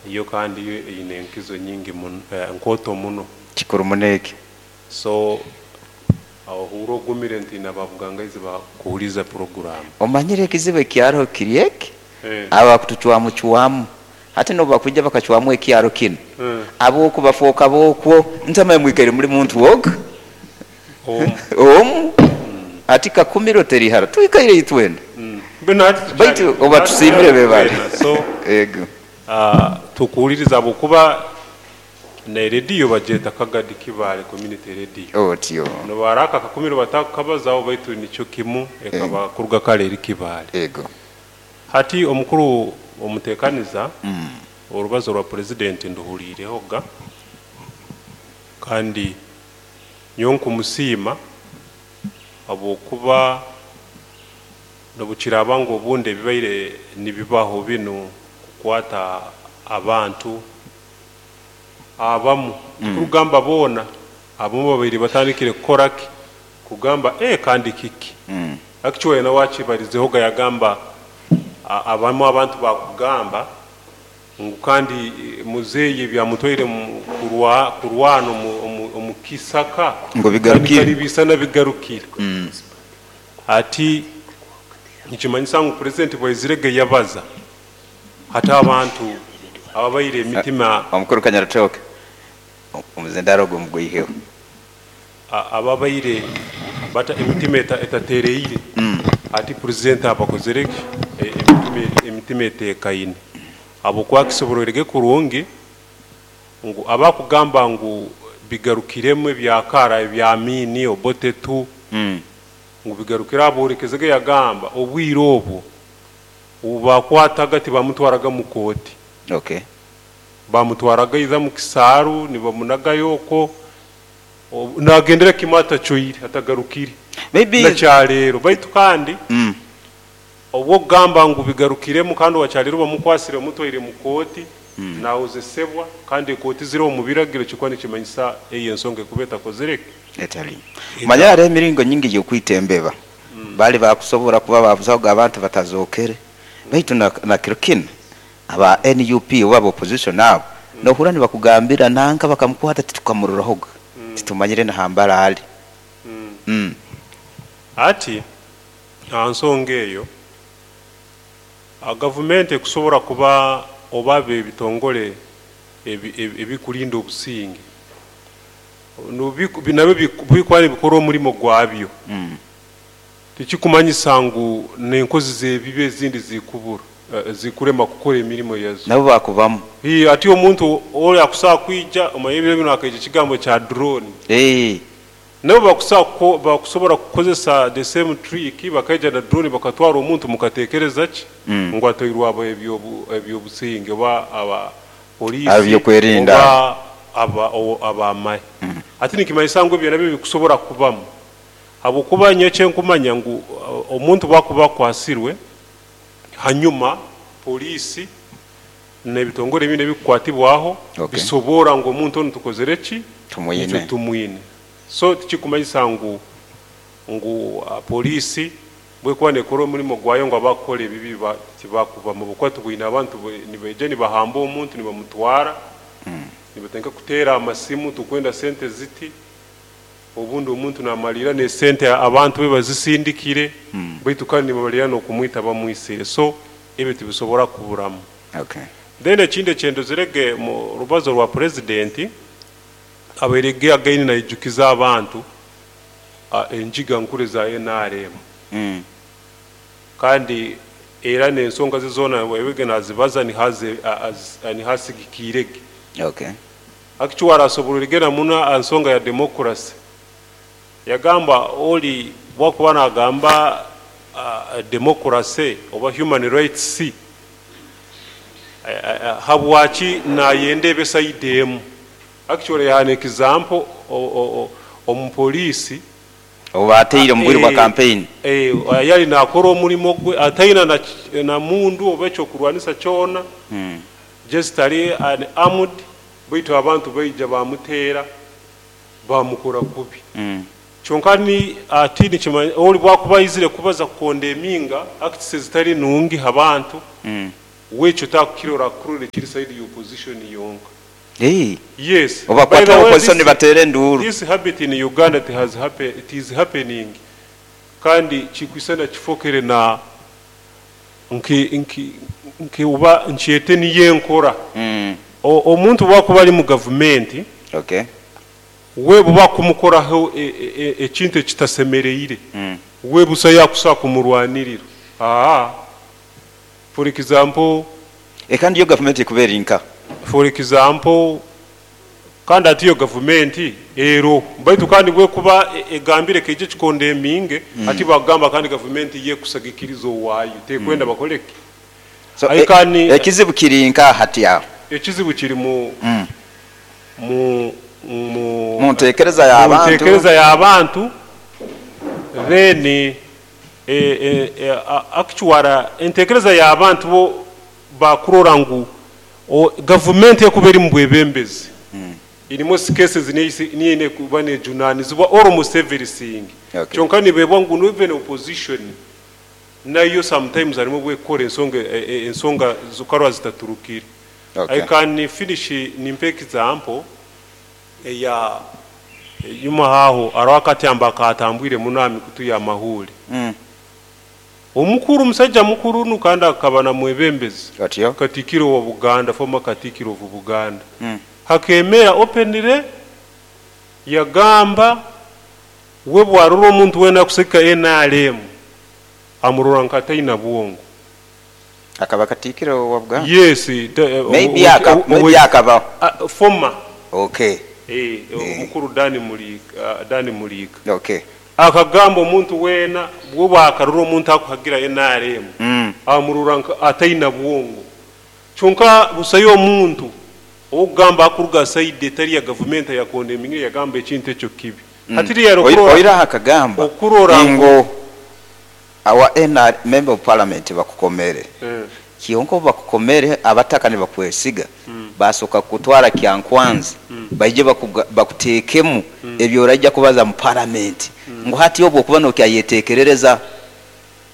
Yo kandi yo eine enkizo nyingi muno, nkooto muno. Kikuru muno eki. So ohurra ogumire nti n'ababugangaizi bakuhuliiriza puroguraamu. Omanyire ekizibu ekyaroho kiri eki, abo abakutucwamucwamu hati nobu bakwija bakacwamu ekyaro kinu, ab'oku bafooka b'okwo, ntamanya mwikaire muli muntu ogu omu, hati Kakumiro teri hara, twikaire itwena. Baitu obu batusiimire bebale. Ego. Tukuhuliriza habwokuba ne rediyo bagyeta Kagadi Kibaale Community Radio. Otyo. Nobu aka Kakumiro batakukabazaho, baitu nikyo kimu, ekaba kuruga kare eri Kibaale. Ego. Hati omukuru omuteekaniza, orubazo rwa Purezidenti nduhuliirehoga, kandi nyowe nkumusiima habwokuba nobukiraaba ngu obundi ebibaire nibibaho binu kukwata abantu abamu, tikurugamba boona, abamu babaire batandikire kukora ki? Kugamba, kandi kiki? Actually nawe akibarizehoga, yagamba abamu abantu bakugamba ngu kandi muzeeyi ebyamutwaire kurwana omu kisaka ngu bigarukire. Kandi bisana bigarukire. Ati nikimanyisa ngu Purezidenti bwaizirege yabaza, hati abantu ababaire emitima Omukuru Kanyarutooke, omuzindaro ogwo mugwiheho. Ababaire bata emitima etatereire, ati Purezidenti abakozere ki? Emitima eteekaine, habwokuba kisoborwerege kurungi ngu abakugamba ngu bigarukiremu ebyakara ebya Amini, Obote tu, ngu bigarukire, abolekezege yagamba obwire obwo obubakwataga tibamutwaraga mu kooti. Bamutwaraga either mu kisaaru, nibamunagayo okwo, nagendera kimu atacwaire, atagarukire. Maybe nakyaleero. Baitu kandi obwokugamba ngu bigarukiremu, kandi owakyaleero bamukwasire, bamutwaire mu kooti, nawozesebwa, kandi ekooti ziriho omu biragiro, kikuba nikimanyisa eyo ensonga ekuba etakozere ki? Etali. Manya hariho emiringo nyingi y'okwita embeba. Bali bakusobora kuba babuzahoga abantu batazookere. Baitu na kiro kinu aba NUP oba aba opposition abo nohurra nibakugambira nanka bakamukwata titukamurorahoga, titumanyire na hambara ali. Ati aha nsonga eyo, gavumenti ekusobora kuba oba ebitongore ebikulinda obusinge nabyo bikuba nibikora omurimo gwabyo, tikikumanyisa ngu n'enkozi z'ebibi ezindi zikubura, zikurema kukora emirimo yazo. Nabo bakubamu. Ati omuntu ori akusobola kwija, omanye ebiro binu hakaija ekigambo kya drone. Nabo bakusobora kukozesa the same trick, bakaija na drone bakatwara omuntu, mukatekereza ki? Ngu atwairwe abo ebyobusinge oba aba poliisi Ab'ebyokwerinda. Oba ab'amahe. Hati nikimanyisa ngu ebyo nabyo bikusobora kubamu, habwokuba nyowe ekyenkumanya ngu omuntu bwakuba akwasirwe, hanyuma poliisi n'ebitongore ebindi ebikukwatibwaho bisobora ngu omuntu onu tukozere ki? Tumwine. Nikyo tumwine. So tikikumanyisa ngu poliisi bwekuba nekora omurimo gwayo ngu abakukora ebibi tibakubamu, habwokuba tubwine abantu nibaija nibahamba omuntu, nibamutwara, nibatandika kuteera amasimu, tukwenda sente ziti, obundi omuntu namalira n'esente abantu be bazisindikire, baitu kandi nibamalira n'okumwita bamwisire. So ebyo tibisobora kuburamu. Then ekindi ekyendozerege mu rubazo rwa Purezidenti, abairege againe naijukiza abantu enjiga nkuru eza NRM. Kandi era n'ensonga ze zoona webege nazibaza nihasigikirege. Actually arasoborerege na muno aha nsonga ya democracy. Yagamba ori bwakuba nagamba democracy oba human rights, habwaki nayenda ebe side emu? Actually yahaana example omupoliisi Obu bateire omu bwire bwa campaign. Yali nakora omurimo gwe ataina na mundu oba ekyokurwanisa kyona, just ali unarmed, baitu abantu baija bamuteera, bamukora kubi. Kyonka ni ati nikimanya ori bwakuba aizire kubaza kukonda eminga acts ezitali nungi ha bantu. Wekyo takukirora, akurora ekiri side ya opposition yonka. Hey. Yes. Oba By the kwata way, opposition nibatera enduru. This habit in Uganda, it has happened, it is happening, kandi kikwisana kifokere na nki uba nkyete niye nkora. Omuntu bwakuba ali mu gavumenti, we buba kumukoraho ekintu ekitasemereire, we busa yakusa kumurwanirira. For example, Kandi yo gavumenti ekubeera inka. For example, kandi ati yo gavumenti ero baitu kandi bwekuba egambire keije kikonde eminge, ati bagamba kandi gavumenti yekusagikiriza owaayo tekwenda bakoleke. So, I can- ekizibu kiri nka hati aho. Ekizibu kiri mu mu mu Mu ntekereza y'abantu. Mu ntekereza y'abantu. Then actually entekereza y'abantu bo bakurora ngu gavumenti ekuba eri mu bwebembezi, in most cases niyo kuba nejunanizibwa almost everything. Kyonka nibebwa ngu no even opposition nayo sometimes harimo bwekora ensonga zukarwa zitaturukire. I can finish nimpe example eya nyuma haho arawakatyamba katambwire munami kutuya amahuri. Omukuru, omusajja mukuru nu kandi akaba na mwebembezi. Otyo. Katikiro wa Buganda, former katikiro of Buganda, hakemera openly yagamba we bwarura omuntu wena kuseka NRM amurora nkataina bwongo. Akaba katikiro wa Buganda? Yes. Maybe maybe akaba. Former. Omukuru Dani Mulika, Dani Mulika. Akagamba omuntu wena bwoba akarura omuntu akuhagira NRM, amurura ataina bwongo. Kyonka busayo omuntu ogamba akuruga side etari ya government yakonde emingire yagamba ekintu ekyo kibi. Hatiri ya okurora Oira akagamba okurora ngo awa NR member of parliament bakukomere. Kionko bakukomere abataka ne bakwesiga. Basoka kutwara Kyankwanzi. Baije bakutekemu ebyo orajja kubaza mu parliament. Ngo hati obwo kuba no kyayetekerereza.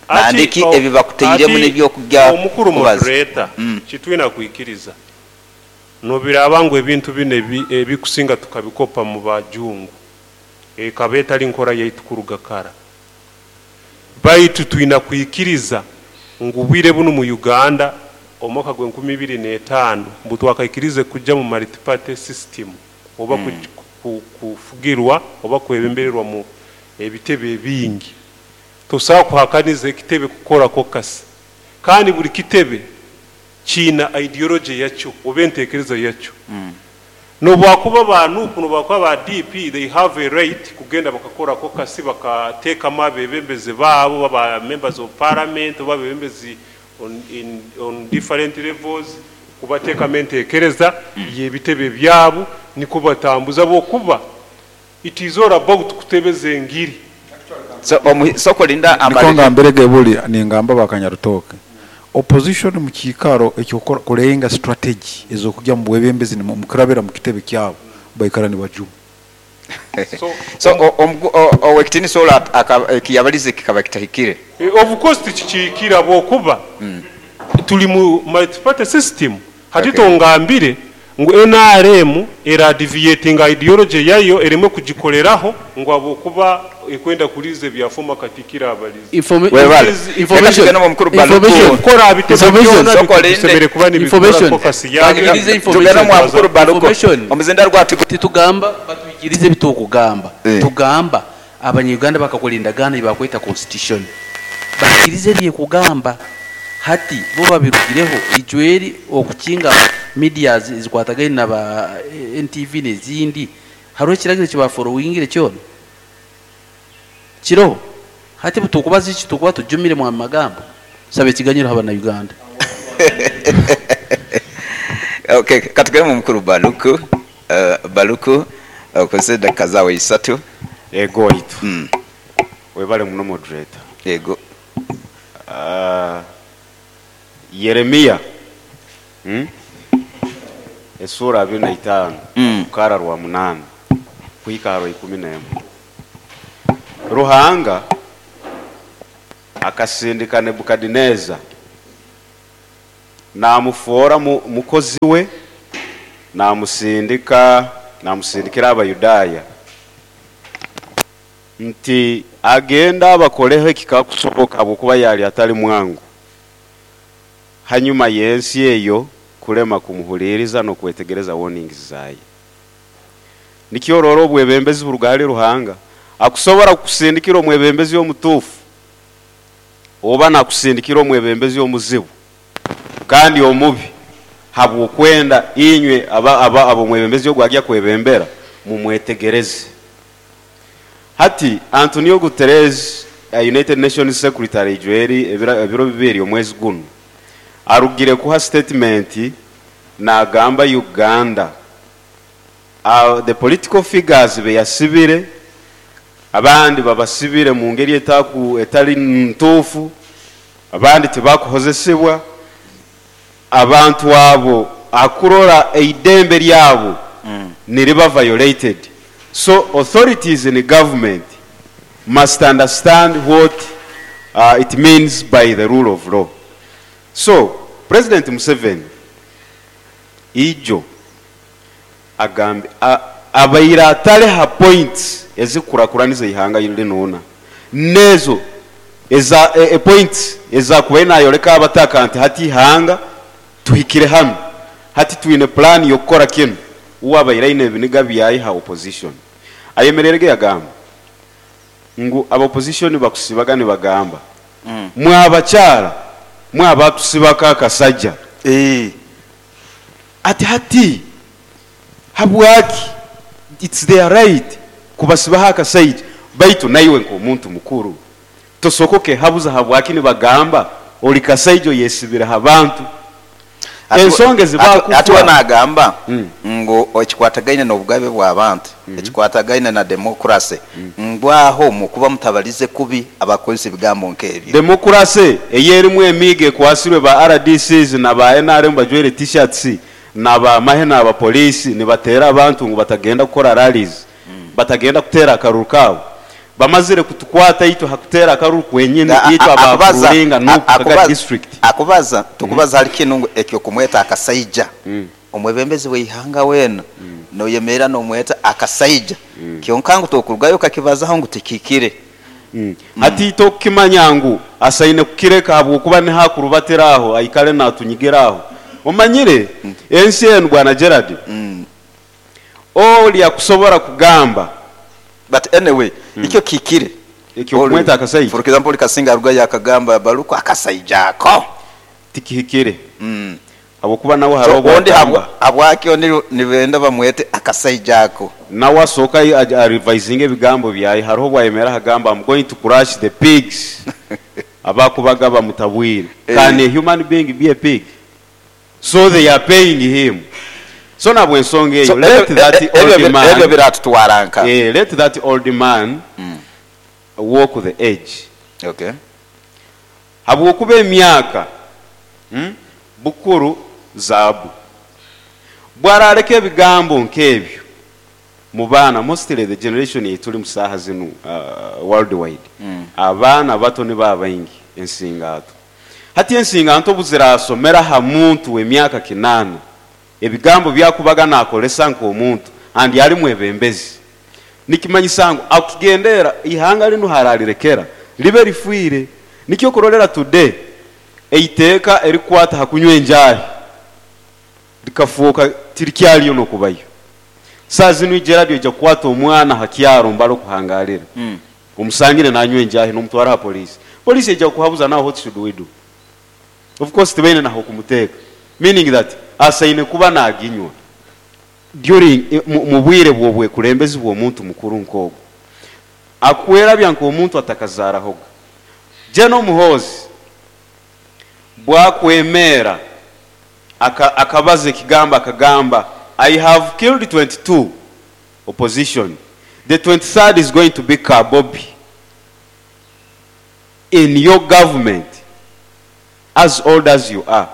Nandiki ebi bakuteiremu n'ebyo kujya Omukuru kubaza. Moderator, kitwina kuikiriza. Nobiraba ngo ebintu bine ebikusinga tukabikopa mu bajungu. Ekaba etali nkora yaitu kuruga kara. Baitu twina kuikiriza ngu bwire buno mu Uganda omwaka gwe nkumi ibiri n'etaano mbu twakaikirize kujja mu multi-party system oba kufugirwa oba kwebembererwa mu ebitebe ebingi. Tosobola kuhakaniza ekitebe kukora kokasi. Kandi buli kitebe kiina ideology yakyo oba entekereza yakyo. Nobwakuba ba NUP, nobwakuba ba DP, they have a right kugenda bakakora kokasi bakateekamu abebembezi baabo, baba members of parliament oba abebembezi on different levels, kubateekamu entekereza y'ebitebe byabo niko batambuza bokuba. It is all about kutebeza engiri. So, soko linda Niko amali- ngambere gebuli ningamba bakanyarutoke. Opposition mu kikaro ekyo kulenga strategy ezokujya mu bwebembezi ni mukurabira mu kitebe kyabo baikara ni bajuma. So, So, owekitini sola ekiyabalize kikaba kitahikire. Of course tikikikira bwokuba tuli mu multi-party system. Hati tongambire ngu NRM era deviating ideology yayo ereme kugikoleraho ngo abokuba ekwenda kulize bya former katikira abalize. Webale. Reka tugende mu mukuru Baluku. Kora abitebe Information. byona Soko linde. bikusemere kuba ni Information. focus yayo. Bakirize information. Tugende mu mukuru Baluku. Information. Omuzinda rwati Titugamba batwikirize bitukugamba. Tugamba abanyuganda bakakola endagaano gye bakweta constitution. Bakirize byekugamba. Hati bo babirugireho ijweri okukinga media zikwatagaine na ba NTV n'ezindi. Hariho ekiragiro kibaforowingire kyona. Kiro hati butukubaza iki tukuba tujumire mu magambo. Sabe ekiganyiro haba na Uganda. Okay, katugende mu mukuru Baluku. Baluku, okozesa edakika zaawe isatu. Ego waitu. Webale muno moderator. Ego. Yeremia. Esura 25. Kara rwa 8. Kuhika rwa 11. Ruhanga akasindika Nebukadineza Namufoora mukozi we, namusindika, namusindikira Abayudaaya nti agenda abakoleho ekikakusoboka, habwokuba yali atali mwangu. Hanyuma y'ensi eyo kulema kumuhuliriza n'okwetegereza warnings zaye. Nikyo orora obwebembezi buruga hali Ruhanga. Akusobora kukusindikira omwebembezi omutuufu, oba nakusindikira omwebembezi omuzibu kandi omubi, habw'okwenda inywe ab'omwebembezi ogu agya kwebembera mumwetegereze. Hati Antonio Guterres, United Nations Secretary Joeli, ebiro 2 omwezi guno arugire kuha statement nagamba Uganda, the political figures beyasibire, abandi babasibire mu ngeri etali ntuufu, abandi tibakuhozesebwa, abantu abo akurora eidembe lyabo niriba violated. So authorities in the government must understand what it means by the rule of law. So President Museveni ijo agambe abaire atale ha points ezikurakuraniza ihanga linuna, nezo eza points ezakubaire nayoleka abataka nti hati ihanga tuhikire hano, hati twine plan yokukora kinu. Uwo abaire aine ebiniga byayi ha opposition ayemererege yagamba ngu aba opposition bakusibaga nibagamba mwabakyala mwabatusibako akasajja. Ati hati habwaki it's their right kubasibaho akasajja, baitu naiwe nk'omuntu mukuru tosokoke habuza habwaki nibagamba oli kasajja oyesibire abantu. Ensonga ezibakufa. Ati nagamba ngu ekikwatagaine n'obugabe bw'abantu, ekikwatagaine na demokrasi, ngwaho mukuba mutabalize kubi abakozesa ebigambo nk'ebyo. Demokrasi eyerimu emiigo ekwasirwe ba RDCs na ba NRM bajwaire t-shirts na ba mahe na ba polisi nibatera abantu ngu batagenda kukora rallies, batagenda kutera akaruru kabo. Bamazire kutukwata itwe hakutera akaruru kwenyine itwe abakuringa no Kaga district. Akubaza tukubaza hali kinu ngu ekyo kumweta akasaija. Omwebembezi w'ihanga wena noyemera nomweta akasaija. Kyonka ngu tokurugayo kakibazaho ngu tikikire. Hati tokimanya ngu asaine kukireka habwokuba ni hakurubatiraho aikale natunyigiraho. Omanyire ensi enu bwana Gerard. Oli akusobora kugamba. But anyway, ikyo kikire. Ekyo kumweta akasaija. For example, Kasinga aruga yakagamba baluko akasaija ako. Tikihikire. Habwokuba nawe hariho ondi habwaki nibenda bamwete akasaija ako. Nawe asoka revising ebigambo byaye, hariho bwayemera hagamba I'm going to crush the pigs. Abakubaga bamutabwire. Can a human being be a pig? So they are paying him. So nabwo ensonga eyo, let that old man, ebyo biratutwaranka. Let that old man walk the edge. Okay. Habwokuba emyaka bukuru zaabu bwarareka ebigambo nk'ebyo mu baana, mostly the generation etuli mu saaha zinu worldwide. Abaana bato ni babaingi ensingato. Hati ensinganto buzirasomera ha muntu w'emyaka 8 ebigambo byakubaga nakolesa nk'omuntu andi ali mwebembezi. Nikimanyisa ngu akugendera ihanga linu haralirekera libe lifuire. Nikyo kurolera today eiteeka erikwata hakunywa enjahi likafuuka tirikyaliyo n'okubayo. Saa zinu Gerard ojja kukwata omwana hakyaro mbalo kuhangalira. Omusangire nanywa enjahi n'omutwara ha polisi. Polisi ejja kuhabuza naho what should we do? Of course tibaine naho kumuteeka. Meaning that asaine kuba naginywa during mu bwire bw'obwekulembezi bw'omuntu mukuru nk'ogwo. Akwerabya nk'omuntu atakazarahoga. General Muhoozi bwakwemera akabaza ekigamba akagamba I have killed 22 opposition. The 23rd is going to be Kabobi. In your government, as old as you are,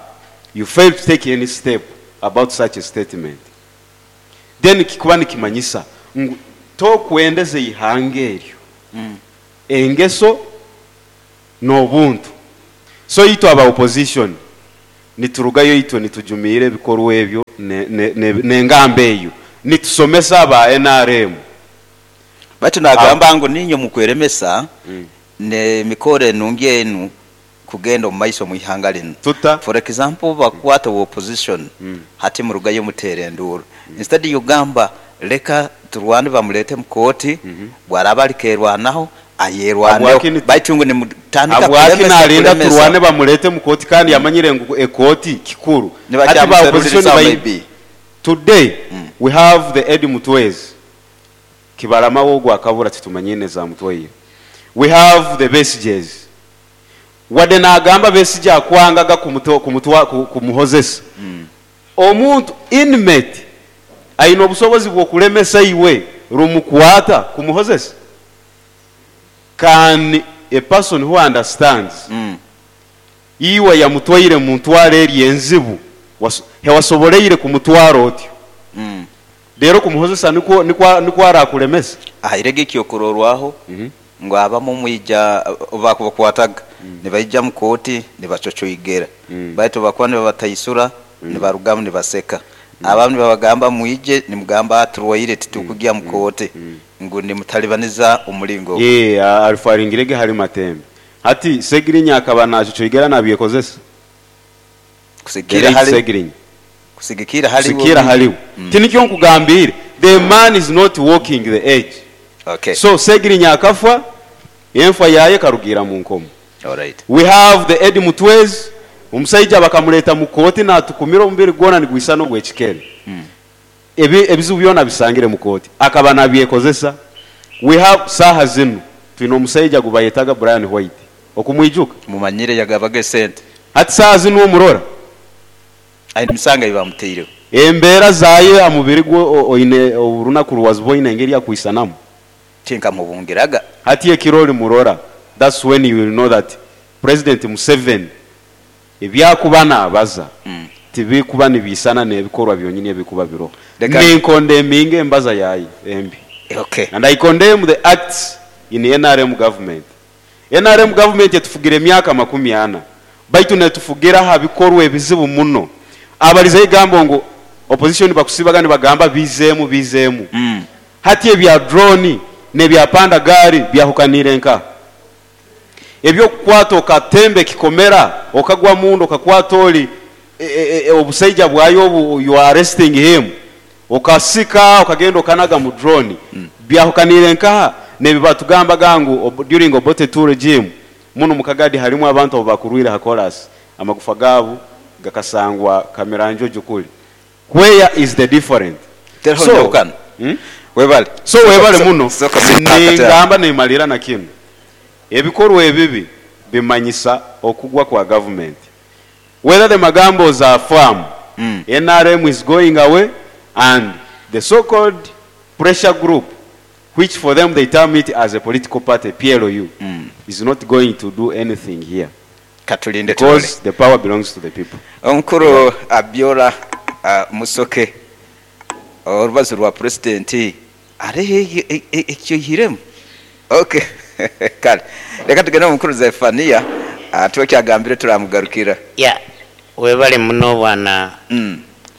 you fail to take any step about such a statement. Then kikuba nikimanyisa ngu tokwendeze ihanga eryo. Engeso n'obuntu. So itwe aba opposition Niturugayo itwe nitujumiira ebikorwa ebyo n'engamba eyo. Nitusomesa aba nrm. Baitu nagamba ngu niinywe mukweremesa n'emikoro enungi enu kugenda omu maiso omu ihanga linu. Tuta? For example obubakukwata owa opposition hati murugayo muteera enduuru. Instead y'okugamba leka turwane bamulete mu kooti bwaraaba ali kerwanaho ayerwaneho Habwaki nitu baitu ngu nimutandika Habwaki kulemesa nalinda kulemesa. turwane bamulete mu kooti kandi yamanyire ngu ekooti kikuru. Hati ba opposition Nibakyamuserulirizaho baine maybe. Today we have the Eddie Mutwezi Kibalama we ogu akabura titumanyine ezamutwaire. We have the Besigye's wadde nagamba Besigye akwangaga kumuhozesa. Omuntu inmate aine obusobozi bw'okulemesa iwe rumukwata kumuhozesa? Can a person who understands iwe yamutwaire muntwara eri enzibu hewasoboleire kumutwara otyo reero kumuhozesa nikwo arakulemesa? Ahairege ekyokurorwaho ngu abamu mwija obu bakubakwataga nibaija mu kooti nibacocoigera baitu obu bakuba nibabataisura nibarugamu nibaseka. Abamu nibabagamba mwije nimugamba turwaire titukugya mu kooti ngu nimutalibaniza omulingo ogu. Yee, arifaringirege hali Matembe. Hati Segirinya akaba nacocoigera nabyekozesa? The Kusigikira late hali Segirinya. Kusigikira hali iwe Kusigikira omwine. hali we. Tinikyo nkugambiire, the man is not walking the edge. Okay. So Segirinya akafa, enfa yaye ekarugiira mu nkomo. Alright. We have the Eddie Mutwezi, omusaija bakamureeta mu kooti natukumira omubiri gwona nigwisana ogw'ekikere. Ebizibu byona abisangire mu kooti. Akaba nabyekozesa. We have, saaha zinu twine omusaija gubayetaga Brian White. Okumwijuka? Mumanyire yagabaga esente. Hati saaha zinu omurora? Aine emisango ei bamutaireho. Embeera zaye aha mubiri gwe oine orunaku ruwaziboine engeri akwisanamu. Tinkamubungiraga. Hati ekiro olimurora, that's when you will know that President Museveni ebyakuba nabaza tibikuba nibiisana n'ebikorwa byonyini ebikuba biroho. Leka Ninkondeminga embaza yaye embi. Okay. And I condemn the acts in nrm government. Nrm government etufugira emyaka 40 baitu netufugira aha bikorwa ebizibu muno. Abaliza egambo ngu opposition bakusibaga nibagamba bizeemu bizeemu. Hati ebya drone n'ebya panda gari byahukanire nkaha? Eby'okukwata okatemba ekikomera okagwa munda okakwata ori obusaija bwayo obu you are arresting him okasika okagenda okanaga mu drone byahukanire nkaha n'ebi batugambaga ngu during Obote 2 regime munu mu Kagadi harimu abantu abu bakurwire ha chorus amagufa gabu gakasangwa Kamiranjojo kuri. Where is the different? Teriho So, njahukana. Webale. So webale muno. Soka sipaka Ningamba nimalira na kinu. Ebikorwa ebibi bimanyisa okugwa kwa government. Whether the magambos are firm, NRM is going away and the so-called pressure group, which for them they term it as a political party, PLU, is not going to do anything here. Katulinde Because tulole. the power belongs to the people. Omukuru Abiola Musoke, orubazo rwa president areho ekyoihiremu. Okay. Kale. Leka tugende omukuru Zephania, tuwe kyagambire turamugarukira. Ya, webale muno bwana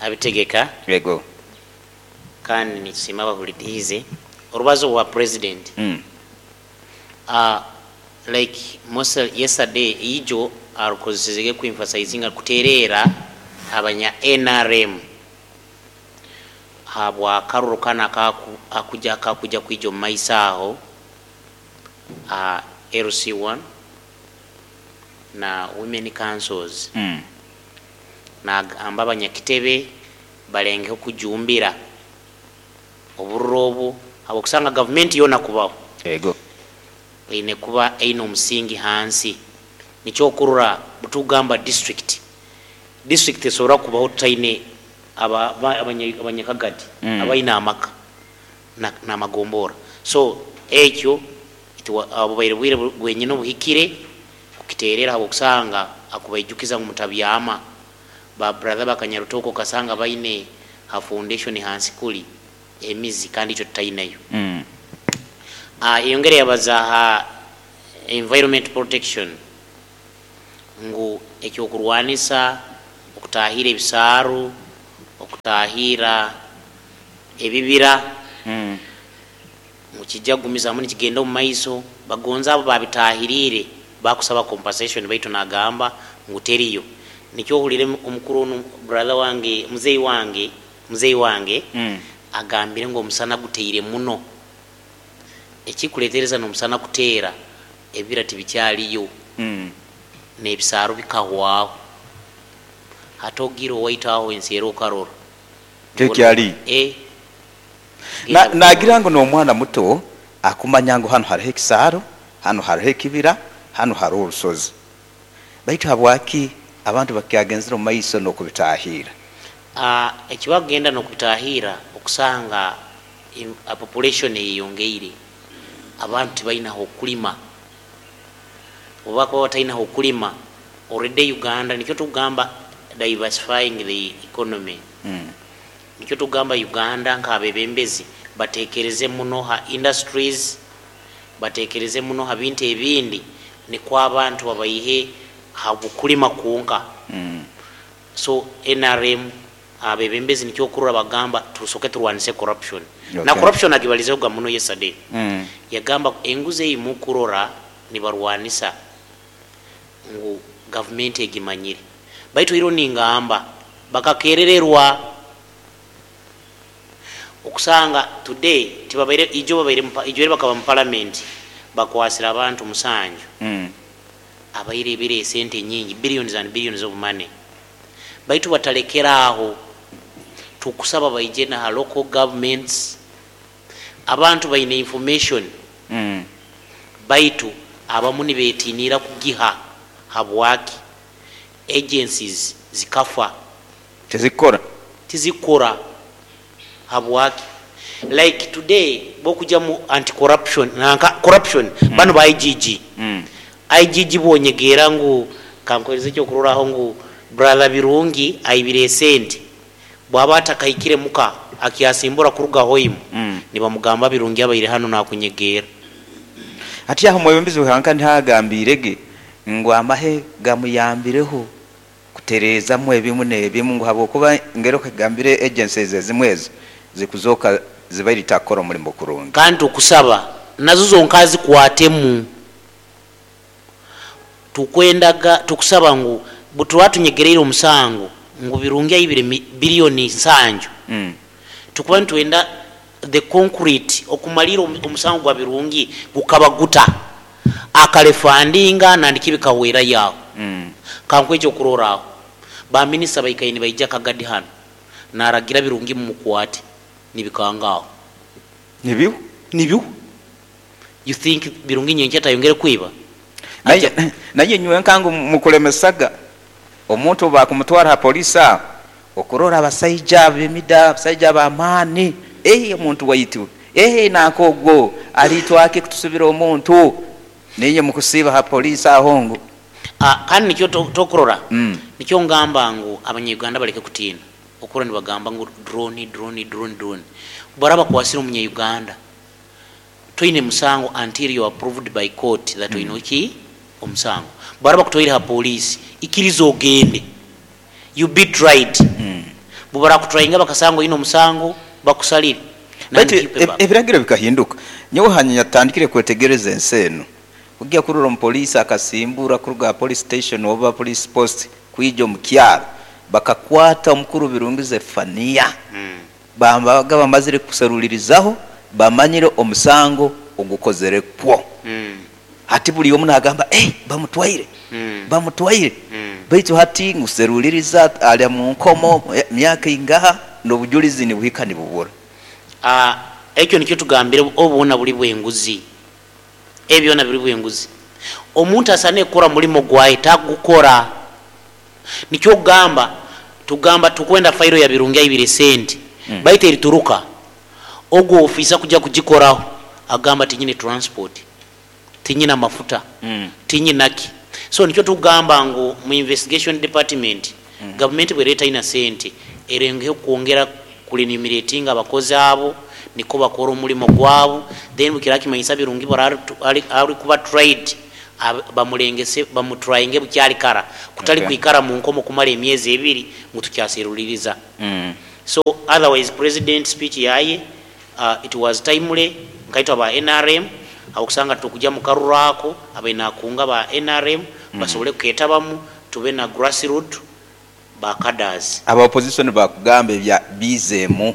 abitegeka. Yego. Kandi nitusima abahuridize orubazo rwa president. Like most yesterday ijo arukozesezege ku emphasizing kuterera abanya NRM habwa karuru kana akuja kakuja kwijo maisa aho, LC1 na women councils. Na amba abanyakitebe balengeho kujumbira oburobo abo kusanga government yona kubaho. Ego. Eine kuba eine omusingi hansi. Nikyo kurura butugamba district. District esobora kubaho tutaine abanyakagadi, abaina amaka na magombora. So ekyo abo baire bwire bwenyine obuhikire kukiterera abo kusanga akubaijukiza ngu mutabyama. Ba brother bakanyarutoko kasanga baine ha foundation hansi kuli emizi kandi icho tutainayo. Yongere yabaza ha environment protection ngu ekyokurwanisa Okutahira ebisaaru, okutahira ebibira, ngu kijja kugumizamu nikigenda omu maiso. Bagonza abo babitahiriire bakusaba compensation, baitu nagamba ngu teriyo. Nikyo ohulire omukuru onu, brother wange, muzeyi wange, muzeyi wange agambire ngu omusana guteire muno. Ekikuletereza n'omusana kuteera, ebibira tibikyaliyo, n'ebisaaru bikahwaho. Hati ogiire owaitu aho ensi era okarora. Tekyali. Nagira ngu n'omwana muto akumanya ngu hanu hariho ekisaaro, hanu hariho ekibira, hanu hariho orusozi. Baitu habwaki abantu bakyagenzere omu maiso n'okubitahiira? Ekibakugenda n'okubitahiira, okusanga population eyeyongeire, abantu tibaina hokulima. Obu bakuba bataina hokulima, already Uganda, nikyo tukugamba diversifying the economy. Nikyo tukugamba Uganda nk'abebembezi batekereze muno ha industries, batekereze muno ha bintu ebindi, nikwo abantu babaihe ha bukulima kwonka. So NRM abebembezi nikyo okurora bagamba tusoke turwanise corruption. Na corruption agibalizehoga muno yesterday. Yagamba enguzi ei mukurora nibarwanisa ngu gavumenti egimanyire, baitu iro ningamba bakakerererwa. Okusanga today tibabaire ijo babaire ijo eri bakaba mu parliament bakwasire abantu 7 abaire ebire esente nyingi, billions and billions of money, baitu batalekera aho. Tukusaba baije na local governments, abantu baine information, baitu abamu nibetinira kugiha. Habwaki? Agencies zikafa, tizikora, tizikora. Habwaki? Like today bokuja mu anti corruption nanka corruption, bano ba IGG, IGG bonyegera ngu kankuhereza ekyokuroraho ngu brother Birungi aibire esente, bwaba atakahikire muka akyasimbura kuruga hoimu, nibamugamba Birungi abaire hano nakunyegera. Ati aho omwebembezi w'ihanga ntihagambirege ngu amahe gamuyambireho kutereezamu ebimu n'ebimu, ngu habwokuba ngero kagambire agencies ezimwe ezo zikuzoka zibaire litakukora omulimo kurungi. Kandi tukusaba nazo zonka zikwatemu. Tukwendaga tukusaba ngu butuba tunyegereire omusango ngu Birungi aibire biliyoni 7, tukuba nitwenda the concrete okumalira omusango gwa Birungi gukaba guta akarefundinga nandiki bikahwera yaho. Kankwekyo okuroraho baminisita baikaire nibaija Kagadi hano naragira Birungi mumukwate nibikangaho. Nibiho. Nibiho. You think Birungi nyenkya tayongere kwiba? Naye nywe nkangu mukulemesaga omuntu bakumutwara ha polisi aho okurora abasaija b'emida, abasaija b'amaani, omuntu waitu, nanka ogwo alitwake kutusubira omuntu ninye mukusiba ha polisi aho ngu. Kandi nikyo tokurora. Nikyo ngamba ngu abanyayuganda baleke kutiina okura nibagamba ngu drone, drone, drone, drone. Baraba kwasira omunyayuganda toine musango until you are approved by court that oine ki omusango. Baraba kutoire ha polisi, ikiriza ogende, you be tried. Bubara kutryinga bakasanga oine omusango bakusalire. Baitu ebiragiro bikahinduka. Nyowe hanyuma yatandikire kwetegereza ensi eno, kujya kurora omupoliisi akasimbura kuruga police station oba police post kwija omu kyaro, bakakwata omukuru Birungi Zefania, bambaga bamazire kuserulirizaho, bamanyire omusango ogukozere kwo. Hati buli omu nagamba, bamutwaire, bamutwaire. Baitu hati nguseruliriza ali mu nkomo myaka ingaha n'obujulizi nibuhika nibubura. Ekyo nikyo tugambire obubona buli bwenguzi, ebyona biri bwenguzi. Omuntu asane kukora mulimo gwaye tagukora. Nikyo kugamba tugamba tukwenda failo ya Birungi aibire sente, baitu erituruka ogwo ofisa kujja kugikoraho agamba tinyine transport, tinyina mafuta, tinyinaki. So nikyo tugamba ngu mu investigation department, government bwereta ina sente erengeho kwongera kurenumerating abakozi abo niko bakora omulimo gwabo. Then bukira kimanyisa Birungi ari kuba tried. Bamulengese, bamutrayinge bukyali kara, kutali kwikara mu nkomo kumara emyezi 2 ngu tukyaseruliriza. So otherwise president speech yaye, it was timely. Nkaitwa aba NRM awokusanga tukujja mu karurako abainakunga ba NRM basobole kuketabamu, tube na grassroot ba cadres. Aba opposition bakugamba ebya bizemu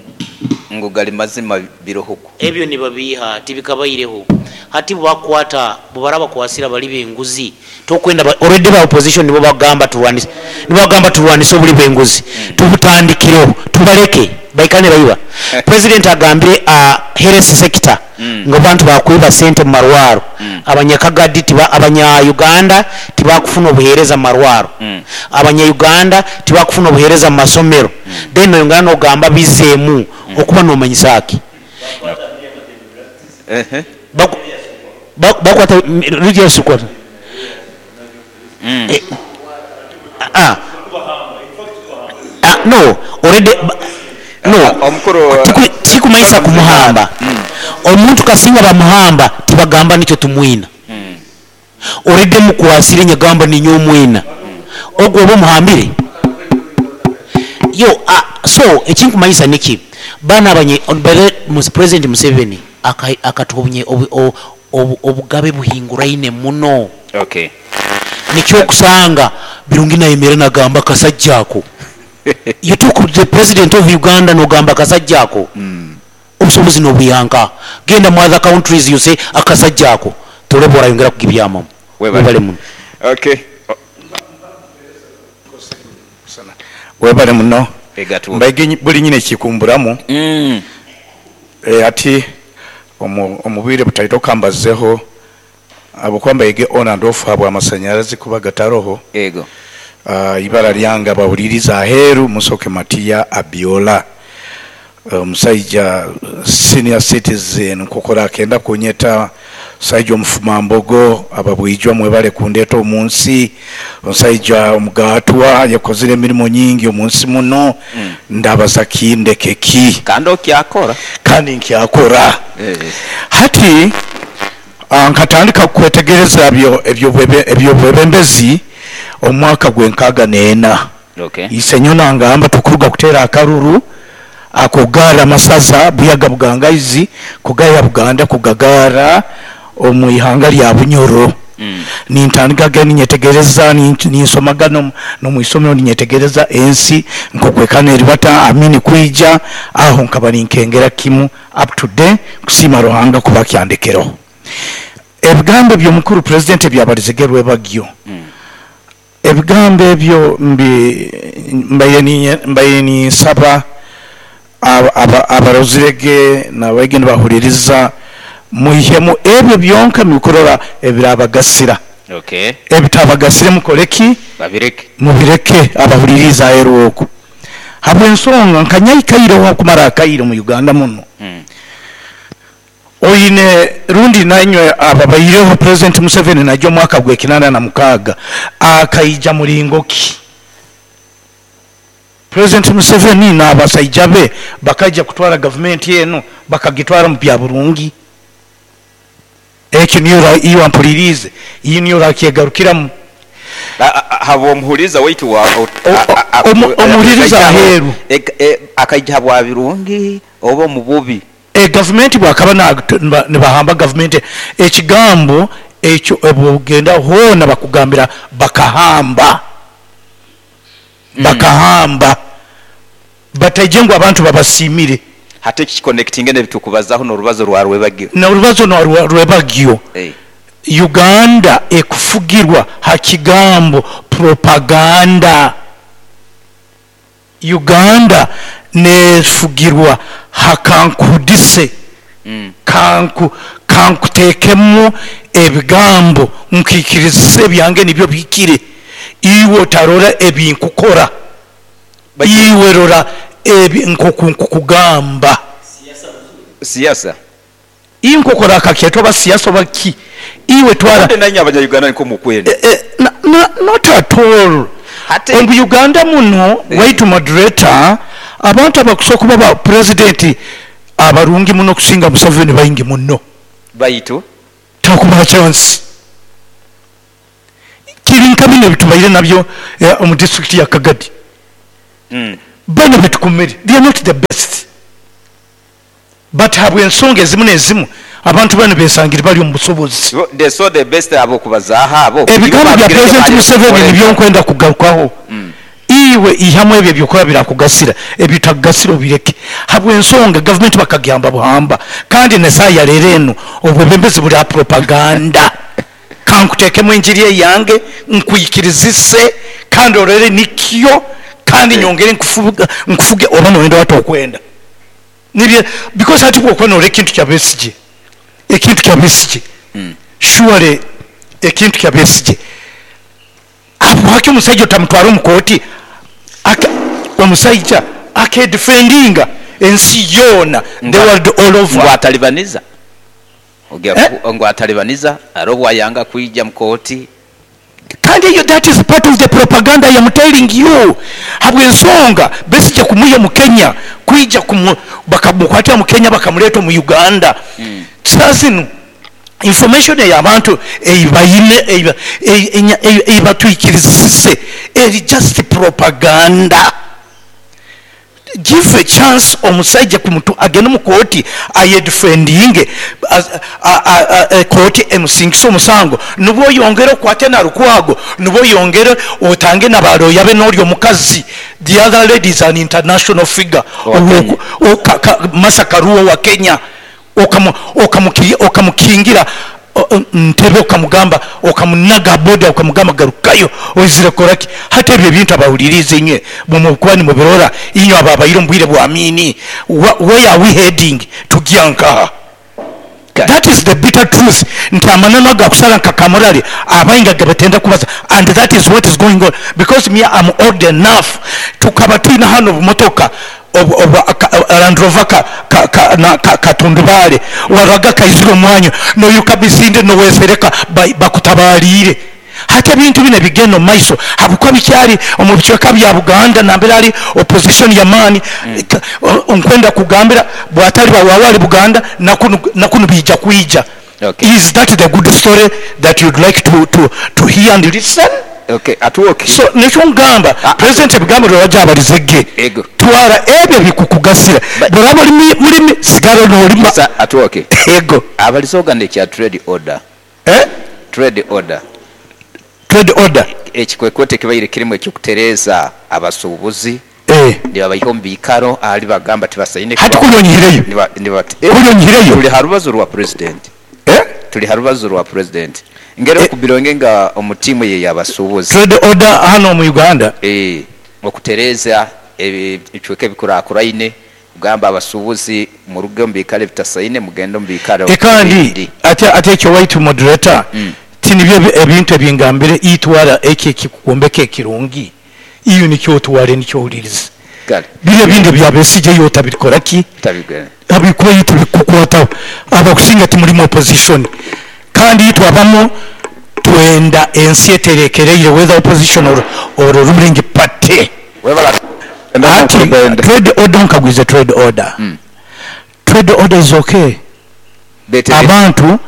ngu gali mazima birohuku. Ebyo nibabiha tibikabaireho. Hati bakwata bubaraba kwasira bali benguzi tokwenda already ba opposition nibo bagamba turwanise, nibo bagamba turwanise obuli bwenguzi. Tubutandikiro tubaleke baikane baiba. President agambire a health sector ngo bantu bakwiba sente mu marwaro. Abanyakagadi tiba abanya Uganda tibakufuna obuhereza mu marwaro. Abanya Uganda tibakufuna obuhereza mu masomero. Then oyongera nogamba bizemu okuba nomanyisaki. Bakwata region squad. No, already no. Omukuru Tikumaisa kumuhamba. Omuntu kasinga bamuhamba tibagamba nicyo tumwina. Already mukwasire nyagamba ninyo mwina. Ogwo bo muhambire. Yo, so ekinkumaisa niki bana abanye President Museveni akatubunye obugabe buhinguraine muno. Nikyo kusanga Birungi na Emere nagamba kasajjako. You took the president of Uganda nogamba kasajjako. Obusobozi nobuyanka. Genda mu other countries you say akasajjako. Tolebora yongera kugibyama. Webale muno. Webale muno. Mbaige buli nyine kikumburamu. Ati omubire butaito kambazeho abukwamba yege on and off habwa amasanyarazi kuba gataroho. Ego. Ibara lyanga bahuliriza aheru Musoke Matia Abiola. Omusajja senior citizen kokora akenda kunyeta sajja omufumambogo ababwijwa mwebale kundeta omunsi. Omusajja omugatwa yakozire emirimu nyingi omunsi muno. Ndabaza kindeke ki kandi okyakora kandi nkyakora. Hati nkatandika kwetegereza ebyobwebembezi omwaka gwenkaaga neena. Isenyo nangamba tukuruga kutera akaruru akugara masaza buyaga bugangaizi kugaya Buganda kugagara omuihanga lya Bunyoro. Nintandika gani nyetegereza ninsomaga no muisomero ninyetegereza ensi nkokwekana eribata amini kwija aho nkaba ninkengera kimu up to day kusima Ruhanga kuba kyandekero. Ebigambo by'omukuru president byabalizegerwe bagyo. Ebigambo ebyo mbaye ni saba abarozirege n'abagenda bahuririza muhemu ebyo byonka mikorora ebirabagasira. Ebitabagasire mukoleki babireke mubireke abahuririza eroko. Habwe ensonga nkanyayikaire kumara akaire mu Uganda muno. Oine rundi nanywe ababayireho President Museveni najyo mwaka gwe 86 akaija mulingoki. President Museveni n'abasajja be bakaija kutwara government yenu bakagitwara mu bya burungi. Ekyo niyo iyo ampulirize iyi niyo rakyegarukiramu. Habo omuhuriza waitu wa omuhuriza aheru akaija habwa birungi oba mu bubi. Government bwakaba nibahamba government ekigambo ekyo ebugenda hona bakugambira bakahamba. Bakahamba batajengwa abantu babasimire. Hate kiconnecting ne bitukubazaho no rubazo rwa Rwebagyo. Na rubazo no Rwebagyo. Uganda ekufugirwa hakigambo propaganda. Uganda nefugirwa hakankudise. Kankutekemu ebigambo nkikirizise byange nibyo bikire. Iwe tarora ebinkukora. Iwe rora ebi nkukugamba. Siasa. Inkokora akakyeto ba siasa baki. Iwe twara nanye abanya Uganda nko mukwenda. Not at all. Omu Uganda muno waitu moderator abantu abakusoka baba president abarungi muno kusinga Museveni baingi muno. Baitu takuba chance. Kiri nka binu ebitubaire nabyo omu disitulikiti ya Kagadi. Banu betukomere they are not the best but habwensonga ezimu nezimu abantu banu besangire bali omu busobozi. They saw the best abokubazaaho abo. Ebigambo bya President Museveni nibyo nkwenda kugarukaho. Iwe ihamu ebyo ebyokuba birakugasira, ebitakugasira obireke. Habwensonga gavumenti bakagihamba buhamba kandi nesaaha ya leero enu obwebembezi buri aha propaganda. Kankuteekemu enjiri eyange nkwikirizise kandi orole nikyo kandi nyongere nkufuge oba noyenda oba tokwenda. Nibyo because hati bwokuba norora ekintu kya Besigye, ekintu kya Besigye, surely ekintu kya Besigye, habwaki omusaija otamutwara omu kooti? Omusaija akedefendinga ensi yoona, the world all over. Ngu atalibaniza. Ngu atalibaniza haroho obwayanga kwija mu kooti. Kandi eyo that is part of the propaganda I am telling you. Habwensonga Besigye kumwiha omu Kenya kwija bakamukwatira mu Kenya bakamureeta omu Uganda. Saaha zinu information eyabantu eyibaine eyibatwikirizise eri just propaganda. Give a chance omusaija kumutu agende omu kooti ayedefendinge, kooti emusingise omusango, nubwo oyongere okwate na Lukwago, nubwo oyongere otange na ba lawyer be n'ori omukazi. The other lady is an international figure. Martha Karua wa Kenya. Okamukingira ntebe, okamugamba, okamunaga boda, okamugamba garukayo oizire koraki. Hati ebyo ebintu abahulirize inywe mukuba nimubirora inywe ababaire omu bwire bwa Amini. Where are we heading? Tugya nkaha? That is the bitter truth. Nti amananu agakusara nka kamurari abainga gabatenda kubaza, and that is what is going on, because me am old enough. Tukaba twina hano obumotoka Land Rover katundubare waraga kaizire omwanya noyuka bisinde nowesereka bakutabarire. Hati ebintu bino bigenda omu maiso habwokuba bikyari omu bicweka bya Buganda nambere hari opposition y'amaani. Nkwenda kugambira bwatari bawawari Buganda nakunu bija kwija. Is that the good story that you'd like to hear and listen? Okay, atuoke. So nikyo ngamba President ebigambo rwajabalizege. Twara ebyo bikukugasira. Bw'oraba oli mulimi sigara n'olima. Sa atuoke. Ego. Abalizoga ne kya trade order. Trade order. Trade order. Ekikwekwete kibaire kirimu ekyokutereza abasuubuzi. Nibabayiha omu biikaro ahali bagamba tibasaine Hati kunyonyihireyo. Kunyonyihireyo. Tuli ha rubazo rwa president. Tuli ha rubazo rwa president. Ngero kubironge nga omu tiimu ye y'abasuubuzi. Trade order hano mu Uganda. Okutereza ebicweka ebikurakuraine, kugamba abasuubuzi muruge omu biikaro ebitasaine mugende omu biikaro Kandi ate ekyo white moderator, tinibyo ebintu ebingambire itwara eki ekikukombeka ekirungi. Iyo nikyo otware nikyo ohuliriza. Biri ebindi bya Besigye yo otabikora ki? Abikuba yitu bikukwataho. Abakusinga timuri opposition. Kandi itwe abamu twenda ensi eterekereire whether opposition or ruling party. Ati trade order nkagwize trade order. Trade order is okay. Abantu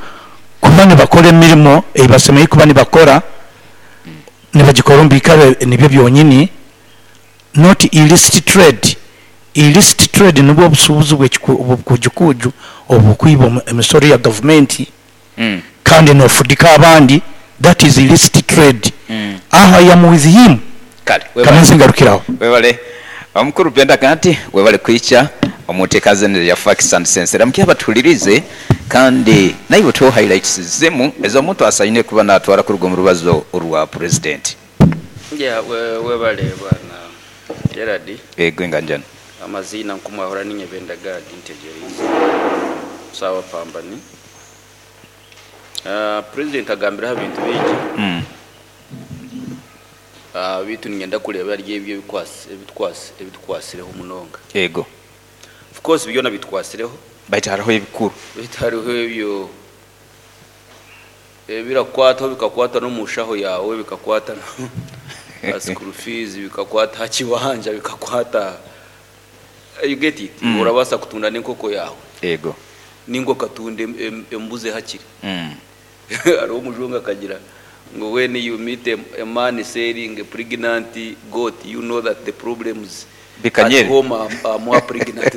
kuba nibakora emirimo eyibasemeye kuba nibakora, nibagikora omu biikaro nibyo byonyini, not illicit trade. Illicit trade nibwo obusuubuzi bw'obukujukuju obukwiba emisoro ya gavumenti, kandi nofudika abandi. That is illicit trade. Aho I am with him. Kamanzi ngarukiraho. Webale. Omukuru Benda Ganti, webale kwicha omuteekaze ya Facts and Sense. Ramkia batulirize kandi naiwe to highlights zimu ez'omuntu asaine kuba natwara kuruga mu rubazo rwa president. Yeah, webale bwana Gerard. Ego nganjana. Amazina nkumwahora ninye Benda Gadi ntegereze. Sawa pambani. President agambira ebintu bingi. Bitu ngenda kuleba ari ebyo ebitwasireho munonga. Ego. Of course byona bitwasireho. Baitu hariho ebikuru. Baitu hariho ebyo birakwata bikakwata no mushaho yawe, bikakwata no school fees, bikakwata kiwanja, bikakwata you get it. Urabasa kutunda n'inkoko yawe. Ego. Ningo katunde embuze hakiri. Ari umujunga kagira Ngu when you meet a man selling a pregnant goat, you know that the problems Bikanyere. at home are more pregnant.